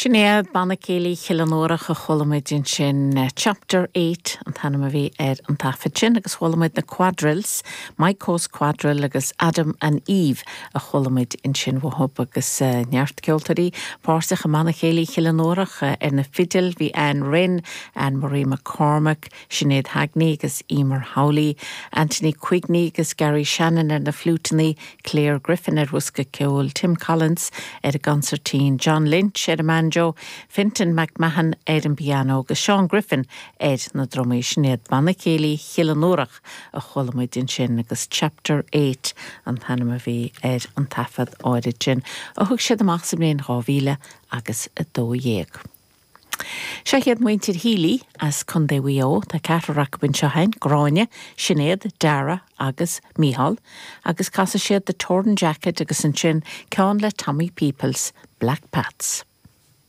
Sin iad Banna Céilí Chill an Fhuarach a chuala muid ansin. Chapter Eight an t-ainm a bhí ar an taifead sin agus chuala muid na Quadrilles, Maidhcó's Quadrille agus Adam and Eve a chuala muid ansin uathub agus neart ceoltóirí páirteach i mBanna Céilí Chill an Fhuarach. Ar na fidil bhí Anne Rynne, Anne Marie McCormack, Sinéad Hagney agus Emer Howley, Anthony Quigney agus Gary Shannon ar na fliúiteanna, Claire Griffin ar bhosca ceoil, Tim Collins ar an gconsairtín, John Lynch ar an mbanjo, Fintan McMahon ar an bpianó agus Seán Griffin ar na drumaí. Sin iad Banna Céilí Chill an Fhuarach a chuala muid ansin agus Chapter Eight an t-ainm a bhí ar an taifead áirid sin a thug siad amach sa mbliain 2000 agus 12. Seo iad muintir Healy as Contae Mhaigh Eo. Tá ceathrar acu anseo féin, Gráinne, Sinéad, Dara agus Mícheál, agus casfaidh siad The Torn Jacket agus ansin ceann le Tommy Peoples, Black Pats.